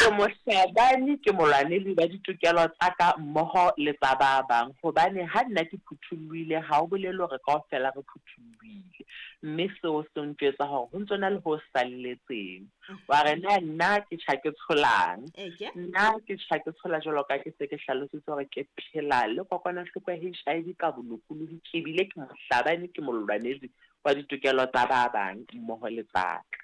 Ke mohlabani, ke molwaneli wa ditokelo tsa ka mmoho le tsa ba bang, hobane ha nna ke phuthollohile ha ho bolele hore kaofela re phuthollohile, mme seo se ntjwetsa hore ho ntso na le ho salletseng. Wa re na nna ke tjha ke tsholang? Nna ke tjha ke tshola jwalo ka ke se ke hlalositse hore ke phela le kokwanahloko ya HIV ka bolokolohi, ke bile ke mohlabani, ke molwanedi wa ditokelo tsa ba bang mmoho le tsa ka.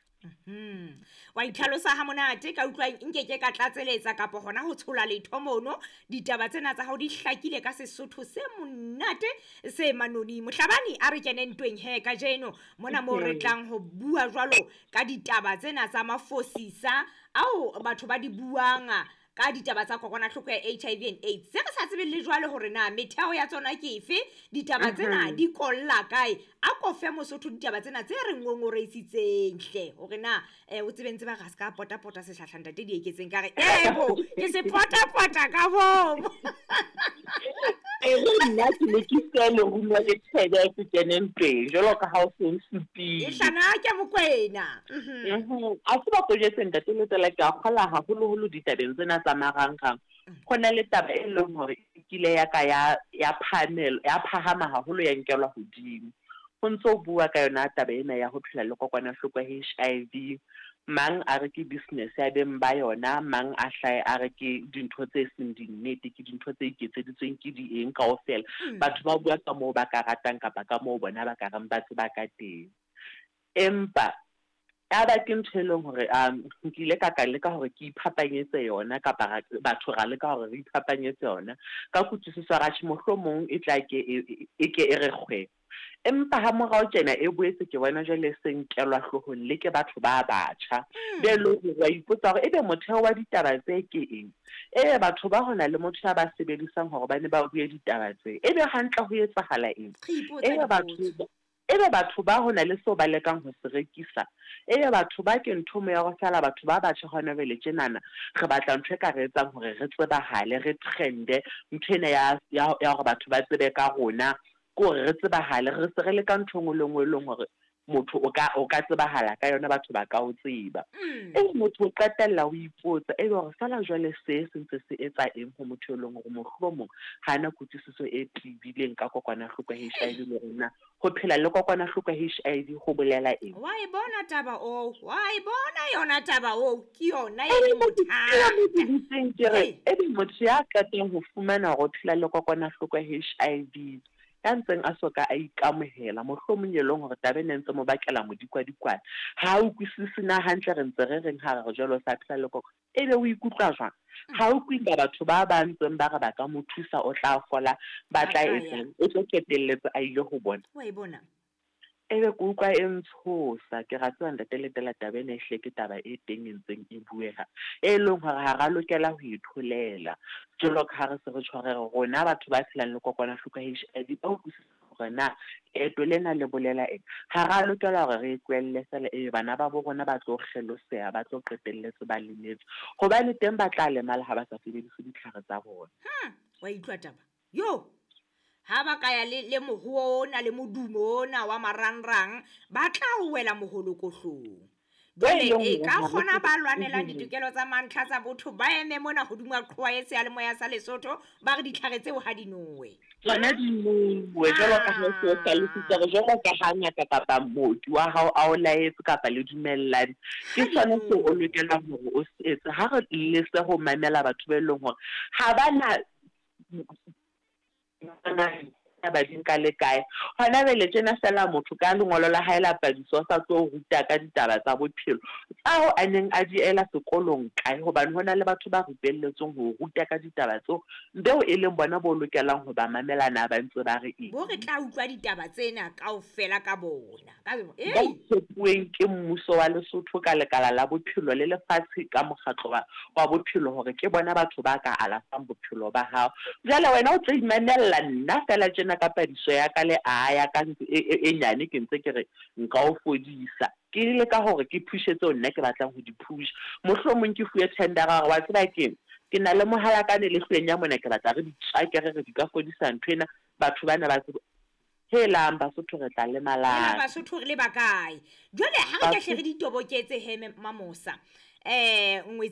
Wa itlhalosa ha monate ka utlwa nke ke ka tlatseletsa kapa hona ho tshola letho mono. Ditaba tsena tsa hao di hlakile ka Sesotho se monate se manoni. Mohlabani a re kene ntweng he kajeno mona moo re tlang ho bua jwalo ka ditaba tsena tsa mafosisa ao batho ba di buang ka ditaba tsa kokwanahloko ya HIV and AIDS. Se re sa tsebeng le jwale hore na metheo ya tsona ke efe, ditaba tsena di kolla kae. A ko fe Mosotho ditaba tsena tse re ngongoreisitseng hle, hore na o tsebe ntse ba re a se ka potapota sehlahla ntate di eketseng ka re, ebo, ke se potapota ka bomo. E re nna ke ne ke siya lerumo le thebe ke kene ntweng, jwalo ka ha o se o supile. E hlana ke Mokwena. A se ba ko jwetse ntate Letsela, ke a kgola haholoholo ditabeng tsena tsa marangrang. Ho na le taba e leng hore e kile ya ka ya, ya phahamela, ya phahama haholo, ya nkelwa hodimo. Ho ntso bua ka yona taba ena ya ho phela le kokwanahloko ya HIV. Mang a re ke business ya beng ba yona, mang a hlahe a re ke dintho tse seng dinnete, ke dintho tse iketseditsweng ke di eng kaofela. Batho ba bua ka moo ba ka ratang kapa ka moo bona ba ka reng ba tseba ka teng. Empa ya ba ke ntho e leng hore nkile ka ka leka hore ke iphapanyetse yona, kapa batho ra leka hore re iphapanyetse yona. Ka kutlwisiso ya tjhe, mohlomong e tla ke e ke e re kgwe. Empa ha morao tjena e boetse ke bona jwale se nkelwa hloohong le ke batho ba batjha. Be leng hore wa ipotsa hore ebe motheo wa ditaba tse ke eng? Ebe batho ba hona le motho ya ba sebedisang hore ba ne ba bue ditaba tse. Ebe hantle ho etsahala eng? Re ipotsa Ebe dipotso. Ebe batho ba hona le seo ba lekang ho se rekisa. Ebe batho ba ke ntho mo ya hore feela batho ba batjha hona jwale tjenana, re batla ntho e ka re etsang hore re tsebahale, re trende, ntho ena ya hore batho ba tsebe ka rona, ke hore re tsebahale, re se re leka ntho e nngwe le nngwe e leng hore motho o ka tsebahala ka yona, batho ba ka o tseba. Ebe motho o qetella o ipotsa, ebe hore feela jwale se se ntse se etsa eng ho motho e leng hore mohlomong ha ana kutlwisiso e tibileng ka kokwanahloko ya HIV le hore na ho phela le kokwanahloko ya HIV ho bolela eng. Wa e bona taba oo, wa e bona yona taba oo, ke yona e Ebe leng motho bothata. ya mo dutseng ke re, ebe motho ya qetang ho fumana hore o phela le kokwanahloko ya HIV, ya ntseng a soka a ikamohela, mohlomong e leng hore taba ena e ntse mo bakela modikwadikwane, ha a utlwisise na hantle re ntse re reng ha re re jwale o sa phela le kokwana, ebe o ikutlwa jwang? Ha o utlwe batho ba ba ntseng ba re ba ka mo thusa, o tla fola, ba tla etsang, o tlo qetelletse a ile ho bona. Wa e bona? Ebe ke utlwa e ntshosa, ke ra tseba ntate Letela taba ena ehlile ke taba e teng e ntseng e bueha, e leng hore ha ra lokela ho e tholela. Jwalo ka ha re se re tshware rona batho ba phelang le kokwanahloko ya HIV ba utlwisisa hore na leeto lena le bolela eng. Ha ra lokela hore re e tlohelle feela ebe bana ba bo rona ba tlo kgeloseha, ba tlo qetelletse ba lemetse, hobane teng ba tla lemala ha ba sa sebedise ditlhare tsa bona. Wa utlwa taba? Yo! Ha ba ka ya le mohoo ona le modumo ona wa marangrang, ba tla wela moholokohlong. Jwale e ka kgona ba lwanelang ditokelo tsa mantlha tsa botho ba eme mona hodimo ha qhowa e seyalemoya sa Lesotho, ba re ditlhare tseo ha di nowe. Tsona di nowe, jwalo ka ha o se o hlalositse hore jwalo ka ha ngaka kapa mooki wa hao a o laetse kapa le dumellane, ke sona seo o lokelang hore o se etse. Ha re lese ho mamela batho ba e leng hore ha ba na ba di nka le kae. Hona jwale tjena feela motho ka lengolo la hae la padiso o sa tlo ruta ka ditaba tsa bophelo tsao a neng a di ela sekolong kae, hobane hona le batho ba rupelletsweng ho ruta ka ditaba tseo, beo e leng bona bo lokelang ho ba mamela na ba ntse ba re eng. Bo re tla utlwa ditaba tsena kaofela ka bona. Ka Ba tshepuweng ke mmuso wa Lesotho ka lekala la bophelo le lefatshe ka mokgatlo wa bophelo hore ke bona batho ba ka alafang bophelo ba hao. Jwale wena o tlo imamella nna feela tjena ka padiso ya ka le a ya ka ntse e nyane ke ntse ke re nka o fodisa. Ke leka hore ke phushe tseo nna ke batlang ho di phusha. Mohlomong ke fuwe tendera hore wa tseba keng, ke na le mohalakane le hlwenya mona, ke batla re di tswakere re di ka fodisa ntho ena, batho bana ba tsebe. Helang Basotho re tla lemalang. Hela Basotho re le ba kae? Jwale ha re ke hle re ditoboketse he Mamosa. Ngwetsi